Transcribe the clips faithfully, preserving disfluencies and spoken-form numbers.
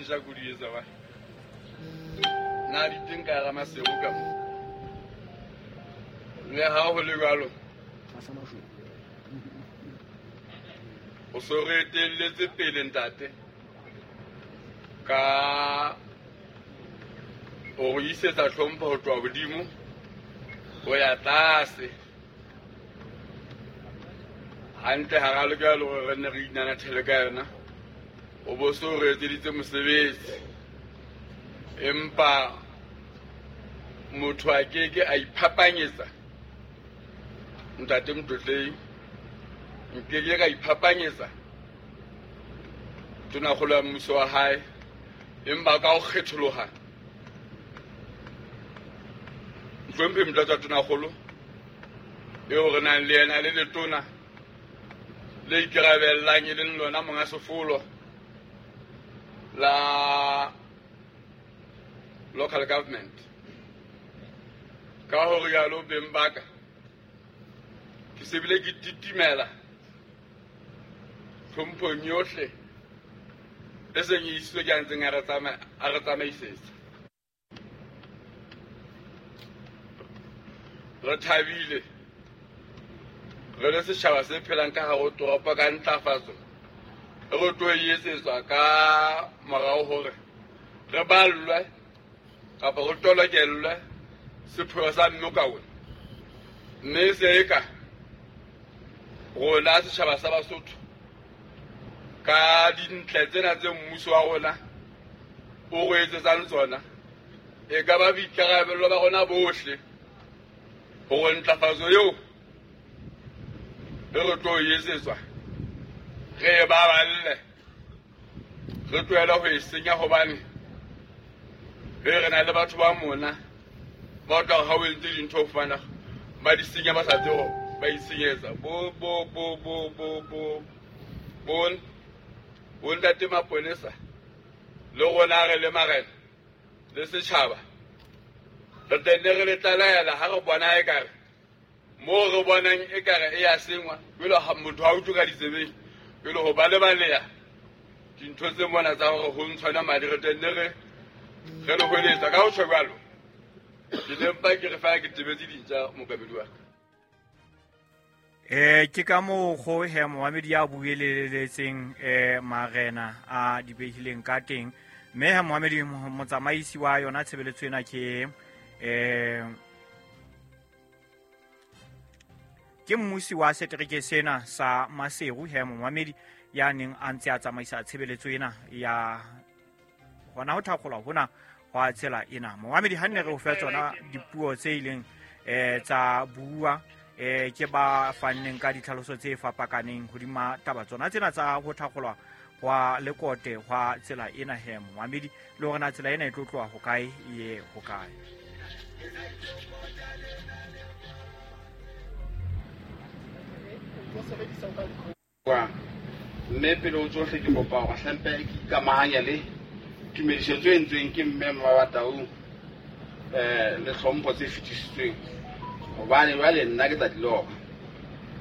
dintja ko di etsa wa na di teng ka hara Maseru ka mo le ha ho le jwalo o so re etelletse pele ntate ka o re isetsa tlhompho ho tloha hodimo ho ya tlase hantle ha ra lokela hore re nne re inanathele ka yona o bo so re etseditse mosebetsi empa motho a keke a iphapanyetsa ntate Motlotlei nkeke ka iphapanyetsa tonakgolo ya mmuso wa hae empa ka ho kgetholoha Mohlomphehi Motlatsa Tonakgolo eo re nang le yena le letona le ikarabellang e leng lona monga sefolo la local government ka ho rialo beng ba ka ke se bile ke titimela tlhomphong yohle e seng e isitswe ke a ntseng a re tsamaisetsa. Re thabile re le setjhaba se phelang ka hare ho toropo ka ntlafatso e re tlo e etsetswa ka morao hore re ballwe kapa re tolokellwe sepheo sa Mmokaone mme se eka rona setjhaba sa Basotho ka dintle tsena tse mmuso wa rona o re etsetsang tsona e ka ba boikarabelo ba rona bohle hore ntlafatso eo e re tlo e etsetswa re e baballe re tlohele ho e senya hobane re re na le batho ba mona ba tla ha o entse dintho ho fana ba di senya ba sa tsebe hore ba itshenyetsa bo bo bo bo bo bo bo bo ntate maponesa le rona re le marena le setjhaba re tenne re le tlalaela ha re bona ekare moo re bonang ekare e ya sengwa jwalo ha motho ha utlwe ka ditsebeng jwalo ho ba lebaleha dintho tse mona tsa hore ho ntshwana madi re tenne re re le hweletsa ka ho tjho jwalo ke ne mpa ke re fela ke tebetse dintja mokamedi wa ka. Eh ke ka mokgo he Mohamedi ya bueleletseng eh marena a di behileng ka teng mme he Mohamedi motsamaisi wa yona tshebeletso ena ke eh ke mmusi wa setereke sena sa Maseru he Mohamedi ya neng a ntse a tsamaisa tshebeletso ena ya hona ho thakgolwa hona hwa tsela ena. Mohamedi ha nne re o fa tsona dipuo tse ileng eh tsa bua eh ke ba fanneng ka ditlhaloso tse fapakaneng hodima taba tsona tsena tsa ho thakgolwa hwa lekote hwa tsela ena he Mohamedi le hore na tsela ena e tlo tloha ho kae ye ho kae. Mme pele ho tsohle ke kopa hore hlempe ke ikamahanya le tumediso tse entsweng ke mme Mmabatau eh le hlompho tse fetisitsweng hobane jwale nna ke tla di loba.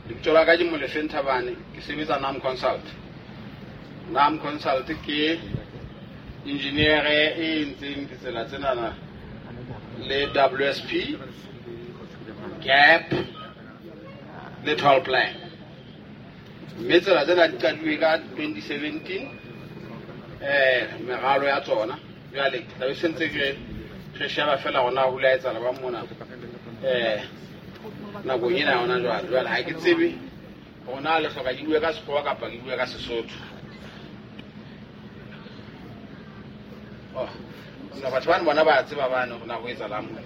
Lebitso la ka ke Molefe Nthabane, ke sebetsa N A M Consult. N A M Consult ke engineer e entseng ditsela tsenana le W S P, GAP le toll plan. Mme tsela tsena di qadilwe ka twenty seventeen eh meralo ya tsona jwale ke tla be sentse ke re sheba fela hona ho la etsahala ba mona eh nakong ena yona jwale jwale ha ke tsebe hona le hloka ke bue ka Sekgowa kapa ke bue ka Sesotho. Oh na batho bana bona ba tseba bana hore na ho etsahalang mona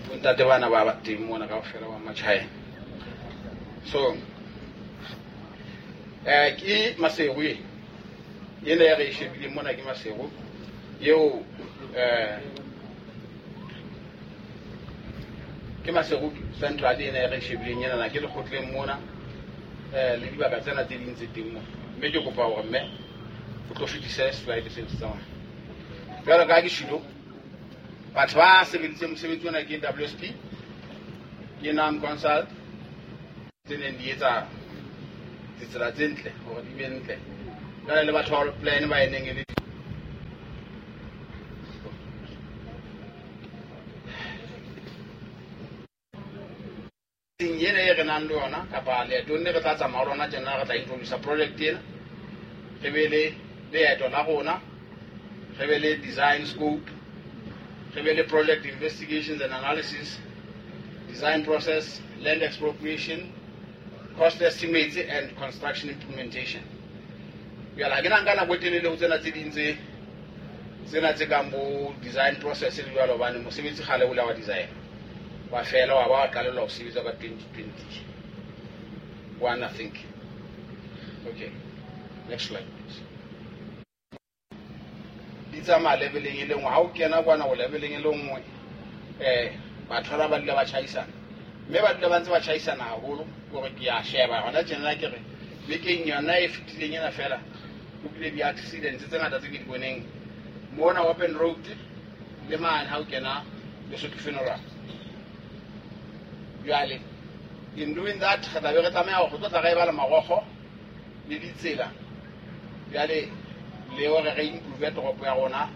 bontate bana ba ba teng mona kaofela ba Machina. So eh ke Maseru e ena ya re e shebileng mona ke Maseru eo eh ke Maseru Central ena ya re e shebileng ena na ke lekgotleng mona eh le dibaka tsena tse ding tse teng mona mme ke kopa hore mme o tlo fetise slide se se tsamaya jwalo ka ke shilo batho ba sebeditseng mosebetsi ona ke W S P ke N A M Consult tse neng di etsa ditsela tse ntle hore di be ntle jwale le batho ba plan ba e neng e le Meeting ena e re nang le yona kapa leetong le re tla tsamaya ho lona tjena, re tla introduce project ena, re be le leeto la rona, re be le design scope, re be le project investigations and analysis, design process, land expropriation, cost estimates and construction implementation. Jwale ha ke na nka nako e telele ho tsena tse ding tse tsena tse kang bo design process le jwalo, hobane mosebetsi kgale o la wa design wa fela, wa ba wa qalellwa ho sebetsa ka twenty twenty one, I think. Okay, next slide please. Di tsamaya leveleng e le nngwe, ha o kena kwana o leveleng e le nngwe, eh batho ba ba dula ba tjhaisana, mme ba dula ba ntse ba tjhaisana haholo. Hore ke a sheba hona tjena, ke re bekeng yona e fetileng ena fela ho bile di-accidents tse ngata tse ke di boneng mona open road le mane ha o kena Lesotho funeral. Jwale in doing that re tla be re tlameha hore re tlo tla re e bala marokgo le ditsela, jwale le hore re improve toropo ya rona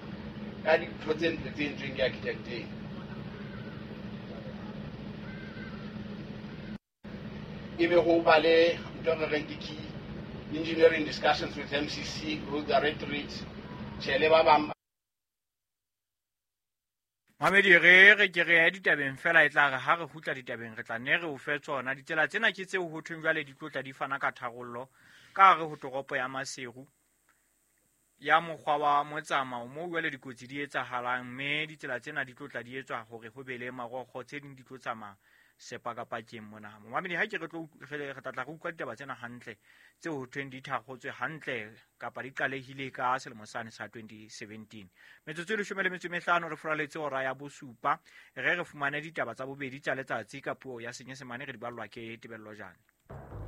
ka dintho tse ntle tse entsweng ke architect-eng. Ebe ho ba le ntho re reng ke key engineering discussions with M C C, road directorates, tjhe le ba bang. Mamedi, re re ke re ya ditabeng fela, e tla re ha re kgutla ditabeng re tla nne re o fe tsona. Ditsela tsena ke tseo ho thweng jwale di tlo tla di fana ka tharollo ka hare ho toropo ya Maseru ya mokgwa wa motsamao moo jwale dikotsi di etsahalang, mme ditsela tsena di tlo tla di etswa hore ho be le marokgo, tse ding di tlo tsamaya sepakapakeng mona. Momamedi, ha ke re tlo re tla tla re utlwa ditaba tsena hantle tseo ho thweng di thakgotswe hantle kapa di qalehile ka selemo sane sa twenty seventeen. Metsotso e leshome le metso e mehlano re furaletse hora ya bosupa, re re fumane ditaba tsa bobedi tsa letsatsi ka puo ya Senyesemane, re di ballwa ke Tebello Jane.